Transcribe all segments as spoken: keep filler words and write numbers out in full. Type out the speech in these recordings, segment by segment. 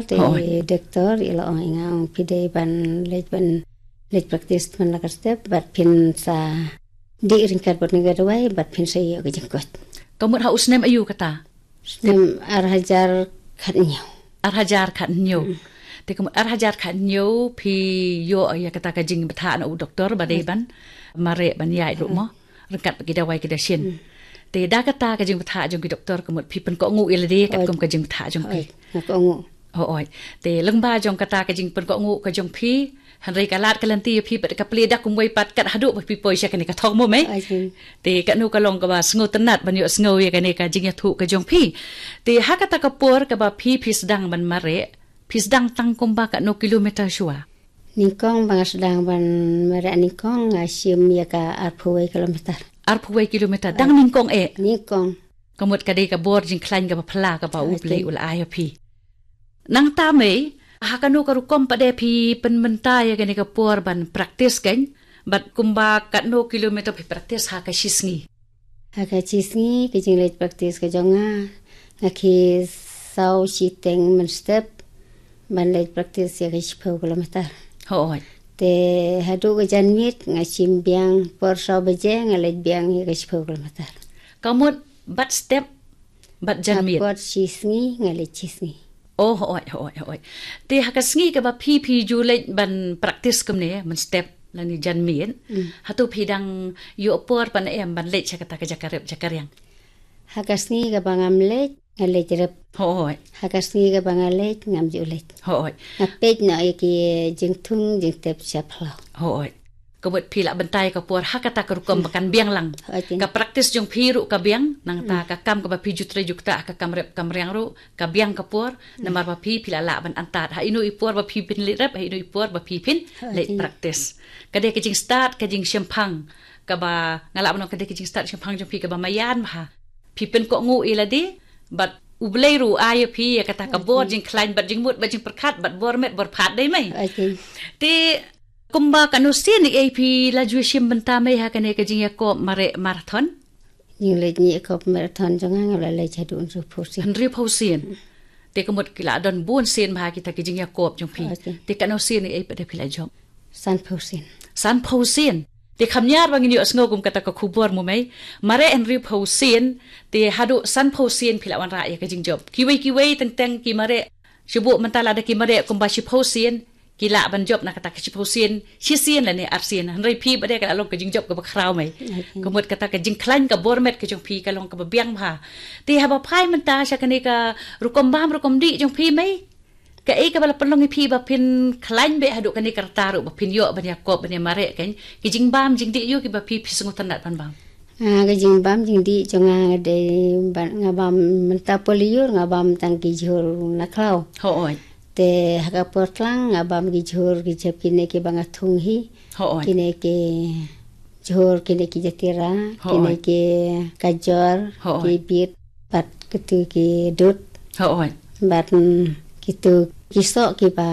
Te doktor i la ong ïa nga, ong phi dei ban leit, ban leit practice man la ka step, bad phin sa dih ryngkat bad kane ka dawai, bad phin sa ïoh ka jingkoit. Ka mut ha u snem aïu kata? Snem ar hajar khathynñiew. Ar hajar khathynñiew. Te ka mut ar hajar khathynñiew phi ïoh ïa kata ka jingbthah na u doktor ba dei ban mareh ban ïaid ruh mo, ryngkat bad ki dawai ki dashin. Te da kata ka jingbthah jong ki doktor ka mut phi pynkohnguh ïa lade katkum ka jingbthah jong phi. Nga kohnguh. Hooid. Te lyngba jong kata ka jingpynkohnguh ka jong phi, hynrei ka lad ka lynti ïa phi pat ka plie da kumwei pat kat haduh ba phi poi sha kane ka thong mo mei. Te katno ka long kaba sngewtynnat ban ïohsngew ïa kane ka jingïathuh ka jong phi. Te ha kata ka por kaba phi phi sdang ban mareh, phi sdang tang kumba katno kilometer shuwa? Nyngkong ba nga sdang ban mareh nyngkong nga shim ïa ka arphew wei kilometer. Arphew wei kilometer dang nyngkong eh. Nyngkong. Ka mut ka dei ka bor jingkhlaiñ kaba phylla kaba U Blei u la ai ha phi. Nangta mei, ha kano ka rukom pat de phi pynmynta ïa kane ka por ban practice kein, bad kumba katno kilometer phi practice ha ka shisngi? Ha ka shisngi ka jingleit practice ka jong nga, nga khie saw shiteng mynstep ban leit practice ïa ka shiphew kilometer. Hooid. Te haduh ka janmiet nga shim biang por saw baje nga leit biang ïa ka shiphew kilometer. Ka mut bad step bad janmiet. Bad shisngi nga leit shisngi. Oh, hooid, hooid, hooid. Te ha ka sngi kaba phi phi ju leit ban practice kumne mynstep lane janmiet. Hato phi dang ïoh por pat em ban leit sha kata ka jaka rep jaka riang? Ha ka sngi kaba ngam leit nga leit rep. Hooid. Ha ka sngi kaba nga leit ngam ju leit. Hooid. Nga peit noh ïa ki jingthung jingtep sha phyllaw. Hooid. Ka mut phi lah bynta ïa ka por ha kata ka rukom ba kan biang lang. Hooid. Ka practice jong phi ruh ka biang, nangta ka kam kaba phi ju trei ju ktah ha ka kam rep kam riang ruh ka biang ka por, namar ba phi phi lah lah ban antad ha ino i por ba phi phin leit rep, ha ino i por ba phi phin leit practice. Ka dei ka jingstad ka jingshemphang kaba nga lah ban ong ka dei ka jingstad shemphang jong phi kaba maïan bha. Phi pynkohnguh ïa lade bad U Blei ruh u ai ïa phi ïa kata ka bor jingkhlaiñ bad jingmut bad jingpyrkhat bad bor met bor phad dei mei. Te kumba katno sien ïa phi la ju shim bynta mei ha kane ka jingïakop mareh marathon? Jingleit ïakop marathon jong nga nga la leit haduh hynriewphew sien. Hynriewphew sien. Te ka mut ki la don bun sien bha kita ki jingïakop jong phi. Te katno sien ïa phi da phi la jop? Sanphew sien. Sanphew sien. Te kham ñiar ba ngin ïohsngew kum kata ka khubor mo mei. Mareh hynriewphew sien, te haduh sanphew sien phi la wanrah ïa ka jingjop. Kiwei kiwei teng teng ki mareh, shu buh mynta lada ki mareh kumba shiphew sien, ki lah ban jop na kata ka shiphew sien, shisien lane arsien. Hynrei phi ba dei ka la long ka jingjop kaba khraw mei. Ka mut kata ka jingkhlaiñ ka bor met ka jong phi ka long kaba biang bha. Te haba phai mynta sha kane ka rukom bam rukom dih jong phi mei, kaei kaba la pynlong ïa phi ba phin khlaiñ beit haduh kane ka rta ruh ba phin ïoh ban ïakop ban ïamareh kein, ki jingbam jingdih ïa kiba phi phi sngewtynnat ban bam? Ah, ka jingbam jingdih jong nga nga dei ban nga bam mynta poli ïur nga bam tang ki jhur na khlaw. Hooid. Te ha ka por tlang nga bam ki jhur ki jhep kine kiba nga thung hi. Hooid. Kine ki jhur, kine ki jatira, kine ki kajor, ki bit, bad kitu ki dud. Hooid. Bad mm, kitu ki soh kiba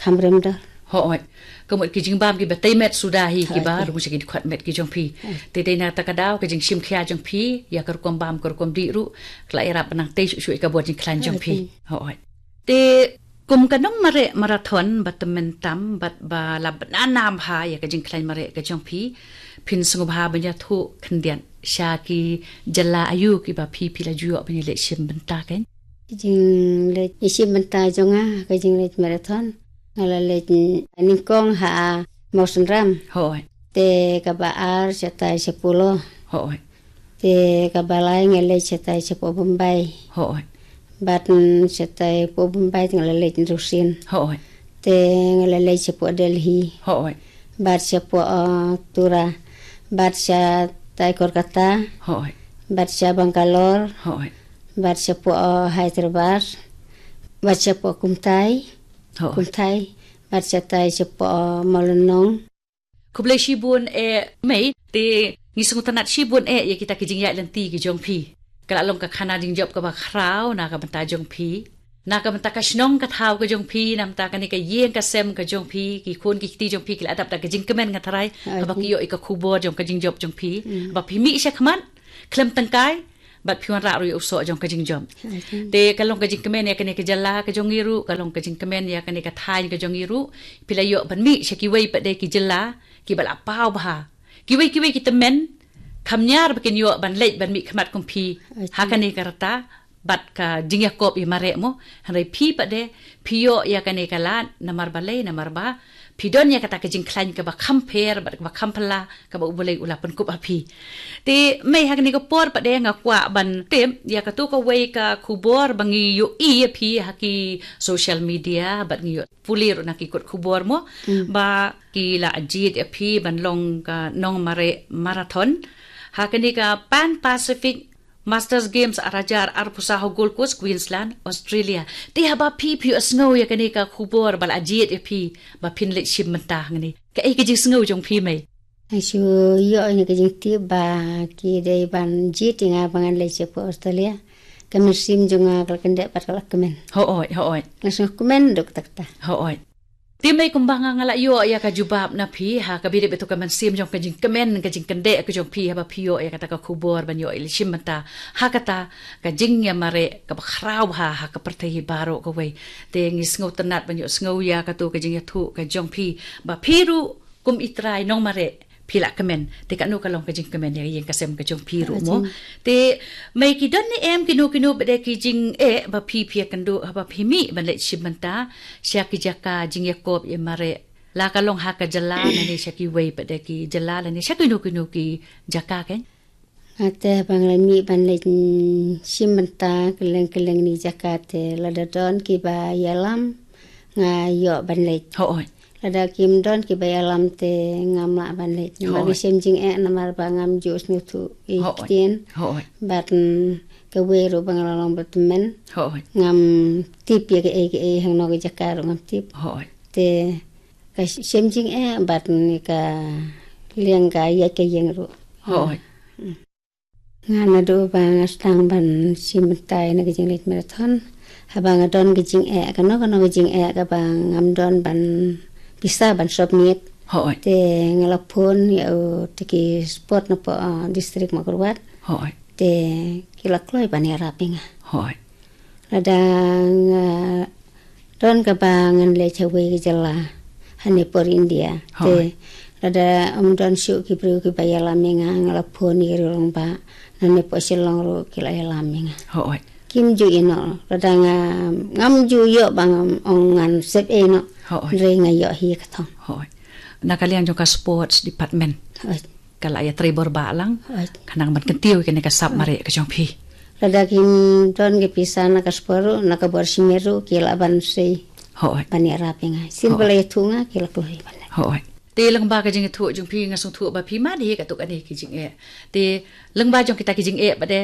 kham rem dor. Hooid. Ka mut ki jingbam kiba tei met suda hi kiba rung sha ki dkhot met ki jong phi. Te dei na kata ka daw ka jingshim khia jong phi ïa ka rukom bam ka rukom dih ruh ka la ïarap ban nang tei shuh shuh ïa ka bor jingkhlaiñ jong phi. Hooid. Te kum ka nongmareh marathon ba tymmen tam bad ba la bna nam bha ïa ka jingkhlaiñ mareh ka jong phi, phin sngewbha ban ïathuh khyndiat sha ki jylla aïu kiba phi phi la ju ïoh ban ïaleit shim bynta kein? Jingleit ïashim bynta jong nga ka jingleit marathon, nga la leit nyngkong ha Mawsynram. Hooid. Te kaba ar shatai sha Polo. Hooid. Te kaba lai nga leit shatai shapoh Bombay. Hooid. Bad mm, shatai poh Bombay te nga la leit hynriew sien. Hooid. Te nga la leit shapoh Delhi. Hooid. Bad shapoh uh, Tura. Bad shatai Kolkata. Hooid. Bad sha Bangalore. Hooid. Bad shapoh uh, Hyderabad. Bad shapoh Kumtai. Hooid. Kumtai. Bad shatai shapoh uh, Mawlynnong. Khublei shibun eh mei, te ngi sngewtynnat shibun eh ïa kita ki jingïaid lynti ki jong phi. Ka la long ka khana jingjop kaba khraw na ka bynta jong phi, na ka bynta ka shnong ka thaw ka jong phi, na bynta kane ka ïing ka sem ka jong phi, ki khun ki kti jong phi ki la dap da ka jingkmen nga tharai haba ki ïoh ïa ka khubor jong ka jingjop jong phi. Ba phi mih shakhmat khlem tyngkai, Bad phi wanrah ruh ïa u soh jong ka jingjop. Te ka long ka jingkmen ïa kane ka jylla ka jong ngi ruh, ka long ka jingkmen ïa kane ka thaiñ ka jong ngi ruh. Phi la ïoh ban mih sha kiwei pat de ki jylla kiba la paw bha. Kiwei kiwei ki tymmen kham ñiar ba kin ïoh ban leit ban mih khmat kum phi ha kane ka rta bad ka jingïakob ïa mareh mo. Hynrei phi pat de, phi ïoh ïa kane ka lad namar balei, namar ba phi don ïa kata ka jingkhlaiñ kaba kham pher bad kaba kham phylla kaba U Blei u la pynkup ha phi. Te mei, ha kane ka por pat de nga kwah ban tip ïa katu kawei ka khubor ba ngi ïohi ïa phi ha ki social media bad ngi ïoh pule ruh na ki kot khubor mo, ba ki la jied ïa phi ban long ka nongmareh marathon ha kane ka Pan Pacific Masters Games ar hajar arphew saw ha Gold Coast, Queensland, Australia. Te haba phi, phi ïohsngew ïa kane ka khubor ba la jied ïa phi ba phin leit shim bynta hangne, kaei ka jingsngew jong phi mei? Nga shu ïoh ïa ka jingtip ba ki dei ban jied ïa nga ba ngan leit sha Australia. Ka mynsiem jong nga ka la kyndit bad ka la kmen. Hooid, hooid. Nga sngewkmen duk takta. Hooid. Te mei, kumba nga, nga la ïoh ïa ka jubab na phi ha kaba ïadei bad tu ka mynsiem jong ka jingkmen, ka jingkyndit ka jong phi haba phi ïoh ïa kata ka khubor ban ïoh leit shim bynta ha kata ka jingïamareh kaba khraw ha, ha ka pyrthei baroh kawei. Te ngi sngewtynnat ban ïohsngew ïa katu ka jingïathuh ka jong phi ba phi ruh kum i trai nongmareh phi la kmen. Te kano ka long ka jingkmen ïa ïing ka sem ka jong phi ruh mo. Te mei, ki don ne em kino kino pat de ki jingeh ba phi, phi ïakynduh haba phi mih ban leit shim bynta sha ki jaka jingïakob ïa mareh, la ka long ha ka jylla lane sha kiwei pat de ki jylla lane sha kino kino ki jaka kein? Nga te haba nga la mih ban leit, mm, shim bynta kylleng kylleng ni jaka te lada don kiba ïalam nga ïoh ban leit. Hooid. Lada kim don kiba ïalam te ngam lah ban leit. Namar nga shem jingeh namar ba ngam ju sngewthuh ïa ki ktien. Hooid. Bad, mm, kawei ruh ba nga la long ba tymmen. Hooid. Ngam tip ïa kaei kaei, hangno ka jaka ruh ngam tip. Hooid. Te ka shem jingeh bad, mm, ka liang ka ïaid ka ïing ruh. Hooid. Nga naduh ba nga sdang ban shim bynta ïa ka jingleit marathon, haba nga don ka jingeh, kano kano ka jingeh kaba ngam don ban pisa ban submit. Hooid. Te nga la phone ïa u, te ki sport na poh, uh, district Mawkyrwat. Hooid. Te ki la kloi ban ïarap ïa nga. Hooid. Lada nga don kaba ngan leit ha kawei ka jylla hangne por India. Hooid. Te lada ym don shuh ki briew kiba ïalam ïa nga, nga la phone ïa ki rangbah nangne poh Shillong ruh ki la ïalam ïa nga. Hooid. Kim ju ïeh noh, lada nga, ngam ju ïoh ba ngam ong ngan sep ei noh. Hooid. Hynrei nga ïoh hi ka thong. Hooid. Na ka liang jong ka sports department. Hooid. Ka la ïatrei bor bha lang. Hooid. Khnang ban kyntiew ïa kane ka sap mareh ka jong phi. Lada kim don ka pisa na ka sport ruh, na ka bor shimet ruh, ki lah ban sei. Hooid. Ban ïarap ïa nga. Shisien ba la ïathuh nga, ki la kloi ban leh. Hooid. Te lyngba ka jingïathuh jong phi nga sngewthuh ba phi mad hi katto katne ki jingeh. Te lyngba jong kita ki jingeh pat de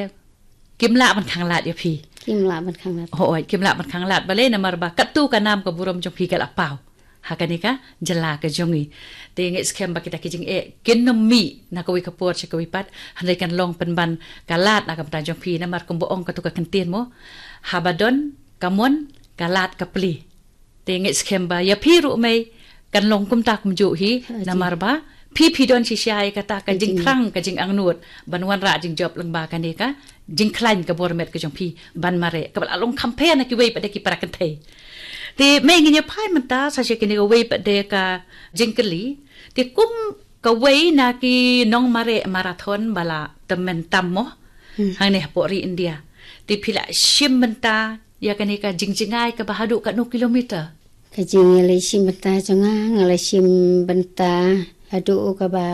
kim lah ban khanglad ïa phi. Kim lah ban khanglad. Hooid, kim lah ban khanglad balei namar ba katto ka nam ka burom jong phi ka la paw ha kane ka jylla ka jong ngi. Te ngeit skhem ba kita ki jingeh kin ym mih na kawei ka por sha kawei pat, hynrei kan long pynban ka lad na ka bynta jong phi, namar kumba ong katto ka kyntien mo, haba don ka mon, ka lad ka plie. Te ngeit skhem ba ïa phi ruh mei kan long kumta kumjuh hi, namar ba phi, phi don shisha ïa kata ka jingthrang, ka jingangnud ban wanrah jingjop lyngba kane ka jingkhlaiñ ka bor met ka jong phi ban mareh, kaba la long kham pher na kiwei pat de ki para kynthei. Te mei, ngin ïa phai mynta sa sha kane kawei pat de ka jingkylli. Te kum kawei na ki nongmareh marathon ba la tymmen tam mo hangne hapoh ri India, te phi la shim bynta ïa kane ka jingjngai kaba haduh katno kilometer? Ka jingïaleit shim bynta jong nga, nga la shim bynta haduh kaba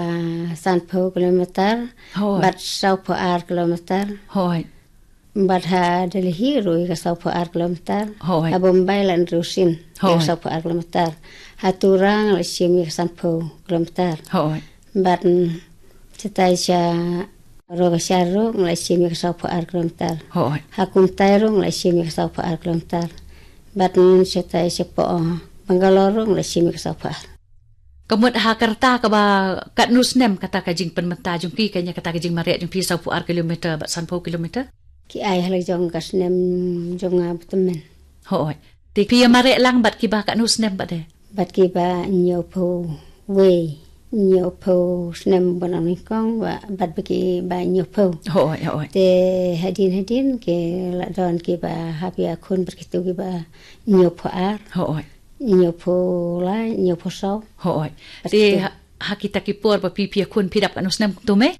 sanphew kilometer. Hooid. Bad sawphew ar kilometer. Hooid. Bad ha Delhi ruh ïa ka sawphew ar kilometer. Hooid. Ha Bombay la hynriew sien ïa ka sawphew ar kilometer. Ha Tura nga la shim ïa ka sanphew kilometer. Hooid. Bad, mm, shatai sha Rogashar ruh nga la shim ïa ka sawphew ar kilometer. Hooid. Ha Kumtai ruh nga la shim ïa ka sawphew ar kilometer. Bad, mm, shatai sha poh Bangalore ruh nga la shim ïa ka sawphew ar. Ka mut ha ka rta kaba katno snem kata ka jingpynmynta jong phi, kane kata ka jingmareh jong phi sawphew ar kilometer bad sanphew kilometer? Ki ai ha la jong ka snem jong nga ba tymmen. Hooid. Te phi ïamareh lang bad kiba katno snem pat de? Bad kiba hynñiewphew wei. hynñiewphew snem ba nang nyngkong, ba bad ba ki ba hynñiewphew. Hooid, hooid. Te hadien hadien ki la don ki ba hap ïakhun bad kito ki ba hynñiewphew ar. Hooid. Hynñiewphew lai, hynñiewphew saw. Hooid. Bad te kito ha, ha kita ki por ba phi phi ïakhun phi dap katno snem kumto mei?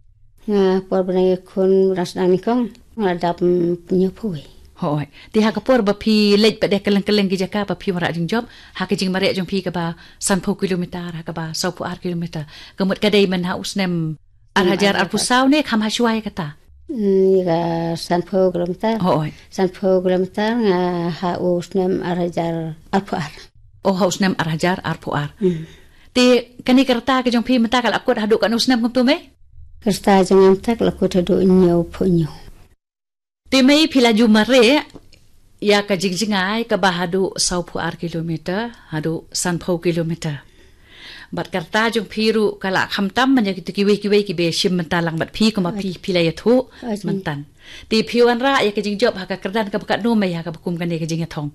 Nga por ba nang ïakhun ba sdang nyngkong nga la dap, mm, hynñiewphew wei. Hooid. Te ha ka por ba phi leit pat de kylleng kylleng ki jaka ba phi wanrah jingjop, ha ka jingmareh jong phi kaba sanphew kilometer, ha kaba sawphew ar kilometer. Ka mut ka dei man ha u snem ar hajar arphew saw ne kham ha shuwa ïa kata? Hmm, ïa ka sanphew kilometer. Hooid. Sanphew kilometer nga ha u snem ar hajar arphew ar. Oh, ha u snem ar hajar arphew ar. Hmm. Te kane ka rta ka jong phi mynta ka la kut haduh katno snem kumto mei? Ka rta jong nga mynta ka la kut haduh hynñiewphew hynñiew. Te mei phi la ju mareh ïa ka jingjngai kaba haduh sawphew ar kilometer, haduh sanphew kilometer. Bad ka rta jong phi ruh ka la khamtam man ïa kito kiwei kiwei kiba shim bynta lang bad phi kumba phi, phi la ïathuh myntan. Te phi wanrah ïa ka jingjop ha ka kyrdan kaba katno mei ha kaba kum kane ka jingïathong?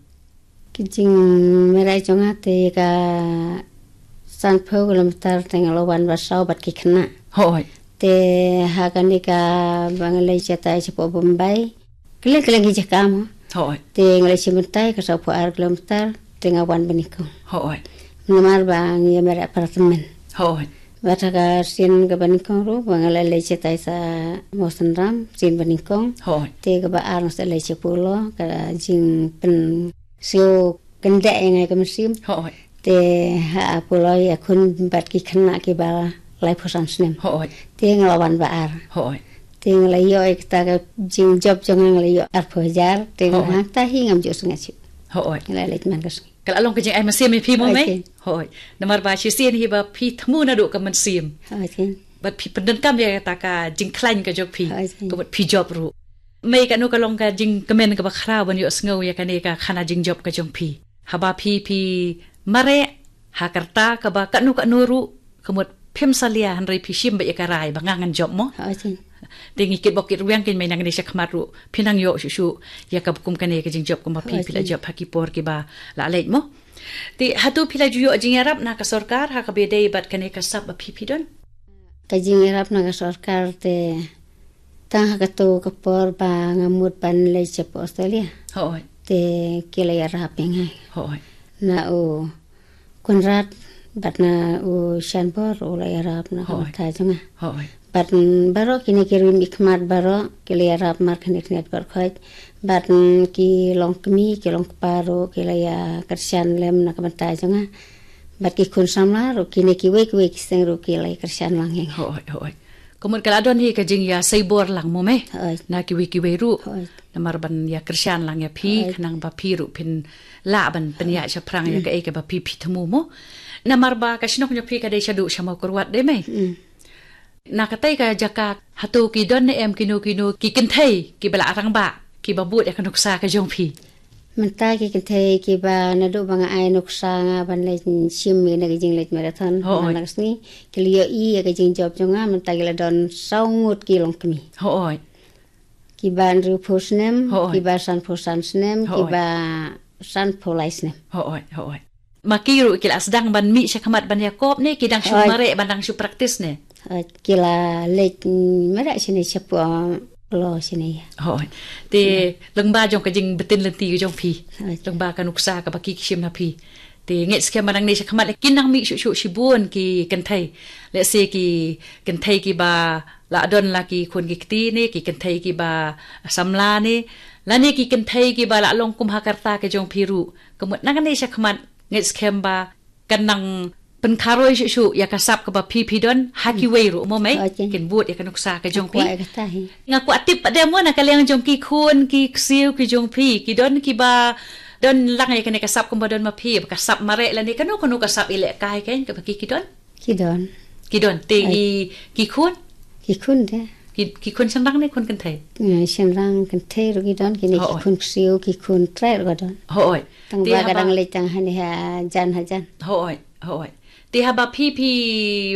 Ka jingmareh jong nga te ka sanphew kilometer te nga la wan ba saw bad ki khynnah. Hooid. Te ha kane kaba nga leit shatai shapoh Bombay, kylleng kylleng ki jaka mo. Hooid. Te nga leit shim bynta ka sawphew ar kilometer te nga wan ba nyngkong. Hooid. Namar ba ngi ïa mareh para tymmen. Hooid. Bad ha ka sien kaba nyngkong ruh ba nga la leit shatai sha Mawsynram sien ba nyngkong. Hooid. Te kaba ar nga sa leit sha Polo, ka jingpyn siew kyndeh ïa nga ïa ka mynsiem. Hooid. Te ha Polo ïakhun bad ki khynnah kiba laiphew san snem. Hooid. Te nga la wan ba ar. Hooid. Te nga la ïoh ïa kata ka jingjop jong nga, nga la ïoh arphew hajar. Te nga hangta hi ngam ju sngew shuh. Hooid. Nga la leit man ka sngi. Ka la long ka jingai mynsiem ïa phi mo mei? Hooid. Namar ba shisien hi ba phi thmu naduh ka mynsiem. Hooid. Bad phi pyndonkam ïa kata ka jingkhlaiñ ka jong phi. Hooid. Ka mut phi jop ruh. Mei, kano ka long ka jingkmen kaba khraw ban ïohsngew ïa kane ka khana jingjop ka jong phi? Haba phi phi mareh ha ka rta kaba kano kano ruh, ka mut phim salia hynrei phi shim beit ïa ka rai ba nga ngan jop mo. Te ngi kitbok kitrwiang kein mei, nangne shakhmat ruh phin nang ïoh shuh shuh ïa kaba kum kane ka jingjop kumba phi phi la jop ha ki por kiba la leit mo. Te hato phi la ju ïoh jingïarap na ka sorkar ha kaba ïadei bad kane ka sap ba phi phi don? Ka jingïarap na ka sorkar te tang ha kato ka por ba nga mut ban leit sha Australia. Hooid. Te ki la ïarap ïa nga. Hooid. Na u Conrad bad na u Shanbor u la ïarap na ka bynta jong nga. Hooid. Bad, mm, baroh kine ki rymmikhmat baroh ki la ïarap markhynñiat khynñiat baroh khoit. Bad, mm, ki longkmie ki longkpa ruh ki la ïa kyrshan lem na ka bynta jong nga. Bad ki khun samla ruh kine kiwei kiwei ki seng ruh ki la ïa kyrshan lang ïa nga. Hooid, hooid. Ka mut ka la don hi ka jingïaseibor lang mo mei? Hooid. Na kiwei kiwei ruh. Hooid. Namar ban ïa kyrshan lang ïa phi, hooid, khnang ba phi ruh phin lah ban pynïaid shaphrang ïa kaei kaba phi phi thmu mo. Namar ba ka shnong jong phi ka dei shaduh sha Mawkyrwat de mei? Mm. Na katei ka jaka hato ki don ne em kino kino ki kynthei kiba la rangbah kiba bud ïa ka nuksa ka jong phi? Mynta ki kynthei kiba naduh ba nga ai nuksa nga ban leit shim ïa kane ka jingleit marathon, hooid, man la ka sngi, ki la ïohi ïa ka jingjop jong nga, mynta ki la don saw ngut ki longkmie. Hooid. Kiba hynriewphew snem, hooid, kiba sanphew san snem, hooid, kiba sanphew lai snem. Hooid, hooid. Ma ki ruh ki la sdang ban mih shakhmat ban ïakop ne ki dang shu, hooid, mareh ban dang shu practice ne? Hooid, ki la leit, mm, mareh shane shapoh Polo shane ïa. Hooid. Te, hmm, lyngba jong ka jingbtin lynti ka jong phi. Hooid. Lyngba ka nuksa kaba ki shim na phi. Te ngeit skhem ba nangne shakhmat kin nang mih shuh shuh shibun ki kynthei. Let's say ki kynthei kiba la don la ki khun ki kti ne, ki kynthei kiba samla ne, lane ki kynthei kiba la long kum ha ka rta ka jong phi ruh. Ka mut nangne shakhmat ngeit skhem ba kan nang pynkharoi shuh shuh ïa ka sap kaba phi phi don ha kiwei ruh mo mei? Hooid. Kin bud ïa ka nuksa ka jong phi. Nga kwah ïa kata hi. Nga kwah tip pat de mo na ka liang jong ki khun ki ksiew ki jong phi, ki don kiba don lang ïa kane ka sap kumba don ma phi, ka sap mareh lane kano kano ka sap ïalehkai kein kaba ki ki don? Ki don. Ki don. Te, hooid, i ki khun? Ki khun de. Ki, ki khun shynrang ne khun kynthei? Eh, shynrang kynthei ruh ki don, kine ki, hooid, khun ksiew, ki khun trai ruh ki don. Hooid. Tang ba ka dang leit tang hane hajan hajan. Hooid, hooid. Te haba phi phi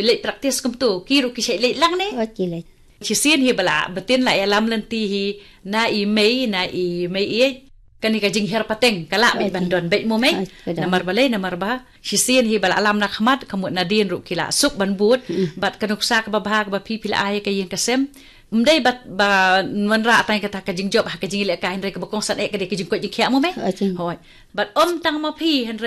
leit practice kumto, ki ruh ki shait leit lang ne? Hooid, ki leit. Shisien hi ba la btin la ïalam lynti hi na i mei, na i mei ïeit. kane ka jinghiar pateng ka lah beit ban don beit mo mei. Namar balei, namar ba shisien hi ba la alam na khmat, ka mut nadien ruh ki la suk ban bud. Bad ka nuksa kaba bha kaba phi phi la ai ka ïing ka sem, ym dei ba ba wanrah tang kata ka jingjop ha ka jingïalehkai, hynrei kaba kongsan eh ka dei ka jingkoit jingkhiah mo mei. Hooid. Bad ym tang ma phi, hynrei